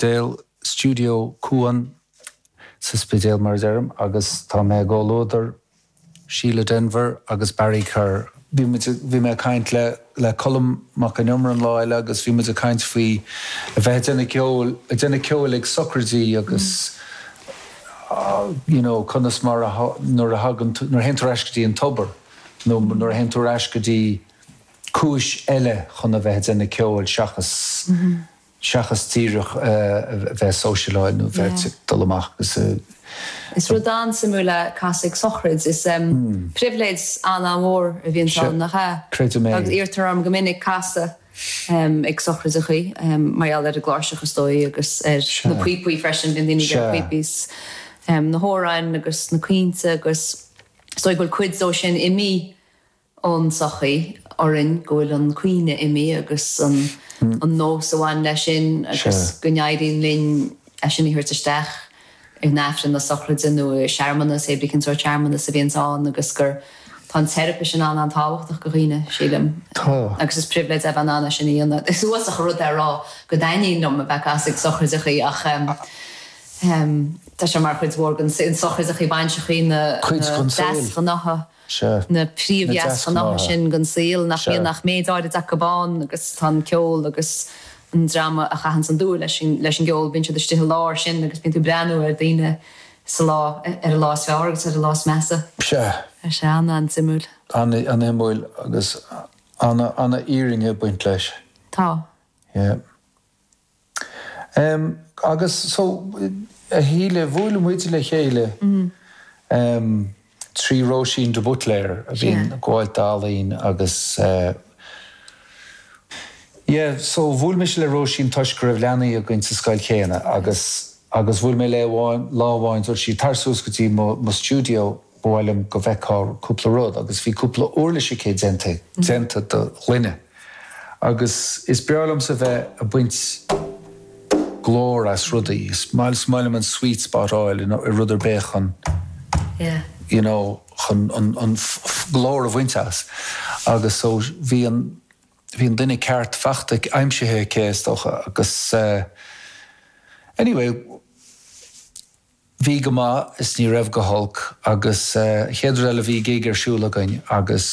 Spidéal, Stiúideo Cuan sa Spidéal mar a deirim agus tá mé i gcomhluadar Síle Denvir agus Barry Kerr. Bhí muid, bhí mé ag caint le, le Colm Mac Con Iomaire an lá eile agus bhí muid ag caint faoi a bheith ag déanamh ceoil, ag déanamh ceoil ag socraidí agus you know conas mar a, nuair a thagann tú, nuair a théann tú ar ais go dtí an tobar nó nuair a théann tú ar ais go dtí cúis eile chun a bheith ag déanamh ceoil seachas seachas díreach a bheith ag sóisialáil nó bheith ag dul amach agus a. Is rud an-suimiúil é casadh ag sochraid. Is pribhléid an-an-mhór a bhíonns ann, nach ea? Creidim é. Agus iarrtar orm go minic casadh ag sochraideachaí, mar gheall ar an gcláirseach is dóigh agus ar na píopaí freisin, bíonn daoine ag iarraidh píopaí is na hamhráin agus na caointe agus is dóigh go bhfuil cuid dó sin imithe ón tsochaí orainn go bhfuil an caoineadh imithe agus an nós a bhain leis sin agus go n-éiríonn linn é sin a thabhairt isteach in Aifreann na sochraide nó i searmanas, hé brí cén sórt searmanas a bhíonns ann agus gur tá an teiripe sin an-an-tábhachtach do dhaoine, sílim. Tá. Agus is pribhléid é a bheith in ann é sin a dhéanamh. Is uafásach an rud é a rá go dtaitníonn liom a bheith ag casadh ag sochraideachaí ach tá sé mar chuid mhór den sochraideachaí, bainseachaí, na deasghnátha. Sea. na príomhdheasghnátha sin den saol, nach mbíonn ach méid áirid acu ann agus tá an ceol agus an dream a chaitheanns an dúil leis an gceol, bíonn siad istigh i lár sin agus bíonn tú ag breathnú ar daoine sa lá, ar a lá is fearr agus ar a lá is measa. Sea. Tá sé an-an-suimiúil. An-shuimiúil agus an-fhírinne ag baint leis. Tá. Yeah. Em, agus so, a Shíle, bhuail muid le chéile, em, trí Róisín de Buitléir a bhíonn ag gabháil d'ealaín agus, eh, yeah, so bhuail mise le Róisín toisc go raibh leanaí againn sa scoil chéanna agus, agus bhuail mé léi amháin, lá amháin, dúirt sí, tar suas go dtí mo, mo stiúideo, ba mhaith liom go bhfeicfeá cúpla rud agus bhí cúpla uirlis aici déanta, déanta de ghloine. Agus is breá liomsa bheith ag baint glór as rudaí. Is maith liom an sweet spot a fháil i rud ar bith chun you know chun an glór a bhaint as. Agus so bhí an bhí an duine ceart fachta aimsithe aici is dócha agus anyway Bhí go maith is ní raibh go holc agus chéad rud eile bhí gig ar siúl againn agus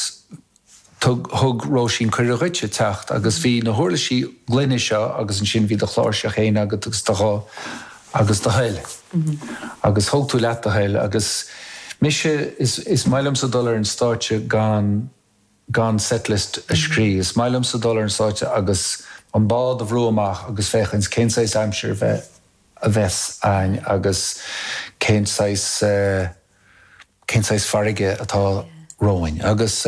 thug thug Róisín cuireadh dhuitse teacht agus bhí na huirlisí gloine seo agus ansin bhí do chláirseach féin agat agus do ghuth agus do thoil agus thóg tú leat do thoil agus mise is is maith liomsa dul ar an stáitse gan gan setlist a scríobh. Is maith liomsa dul ar an stáitse agus an bád a bhrú amach agus féachaint cén saghas aimsir a bheith a bheas ann agus cén saghas, cén saghas farraige atá romhainn. Agus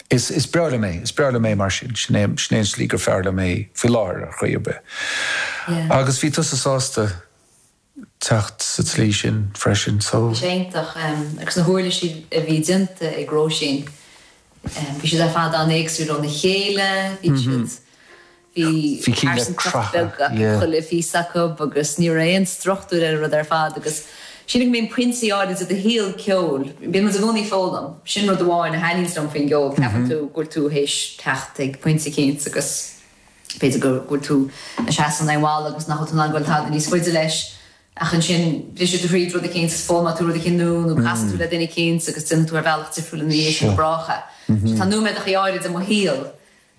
is, is breá liom é, is breá liom é mar sin, sin é, sin é an tslí gur fearr liom é faoi láthair ar chaoi ar bith. Agus bhí tusa sásta teacht sa tslí sin freisin, so. Bhí sé iontach. Agus na huirlisí a bhí déanta ag Róisín, bhí siad ar fad an-éagsúil óna chéile, bhí siad, Bhí pearsantacht bheag acu, chuile phíosa acu agus ní raibh aon struchtúr ar an rud ar fad agus sílim go mbíonn pointí áirid i do shaol ceoil, bíonn muid i gcónaí ag foghlaim, sin rud amháin a thaitníonns liom faoin gceol, ceapann tú go bhfuil tú théis teacht ag pointe eicínt agus b'fhéidir go bhfuil tú ag seasamh in aghaidh an bhalla agus nach bhfuil tú in ann goil tada níos faide leis ach ansin briseann tú thríd rud eicínt is foghlaimeoidh tú rud eicínt nua nó casann tú le duine eicínt agus déanann tú ar bhealach difriúil ina dhiaidh sin go brách é. Tá nóiméadachaí áirid i mo shaol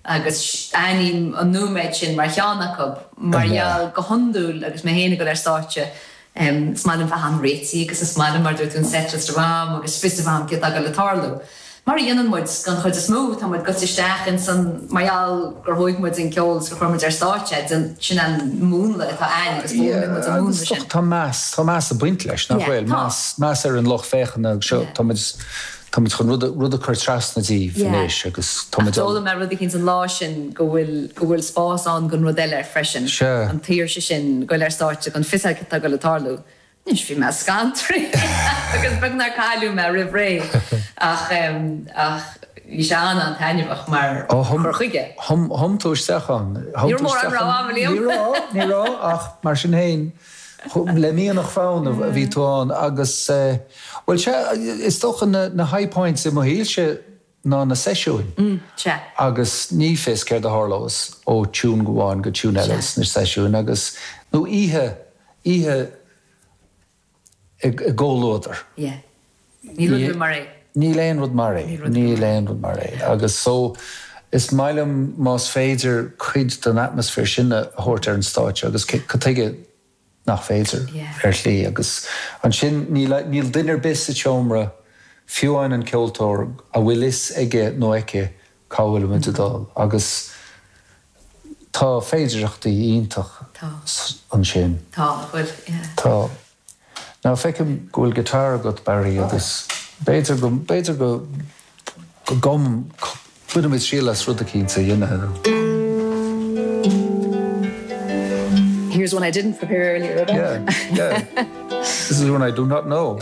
agus aithním an nóiméad sin mar cheann acu, mar gheall go hiondúil agus mé féin ag dul ar stáitse, is maith liom bheith an-réitithe agus is maith liom, mar a dúirt tú, an setlist a bheith agam agus fios a bheith agam céard atá ag dul le tarlú. Mar a dhéanann muid don chuid is mó, tá muid gaibhte isteach ins an, mar gheall gur thóig muid an ceol is gur chuir muid ar stáitse é, sin an múnla atá a'ainn agus foghlaimíonn muid an múnla sin. Tá meas, tá meas ag baint leis, nach bhfuil? Meas, meas ar an lucht féachana agus seo, tá muid, Tá muid chun rud rud a chur trasna díobh anois agus tá muid. Ach d'fhoghlaim mé rud eicínt an lá sin go bhfuil go bhfuil spás ann don rud eile freisin. Sea. An tsaoirse sin goil ar stáitse gan fios cad tá ag goil a tarlú. Anois bhí mé scantraithe agus beag nár cailleadh mé roimh ré ach ach bhí sé an-an-taitneamhach mar chur chuige. Thum thum tú isteach ann. Ní raibh mórán rogha agam, Liam. Ní raibh, ní raibh ach mar sin féin le mianach fonn a bhí tú ann agus. Bhuel, sea, is dócha na high points i mo shaolse. ná na seisiúin. Sea. Agus ní fios céard a tharlós ó tune amháin go tune eile sna seisiúin agus, nó oíche, oíche i gcomhluadar. Yeah. Níl rud ar bith mar é. Níl aon rud mar é. Níl aon rud mar é. Agus so, is maith liom más féidir cuid den atmaisféar sin a thabhairt ar an stáitse agus cad tuige nach féidir, ar shlí. Agus ansin níl, níl duine ar bith sa tseomra, fiú amháin an ceoltóir, a bhfuil fhios aige nó aici cá bhfuil muid ag dul. Agus tá féidireachtaí iontach ansin. Tá, nach bhfuil, yeah. Tá. Now feicim go bhfuil guitar agat Barry agus b'fhéidir go, b'fhéidir go, go gcum, bainfidh muid triail as rud eicínt a dhéanamh. Here's one I didn't prepare earlier at all. Yeah, yeah. This is one I do not know.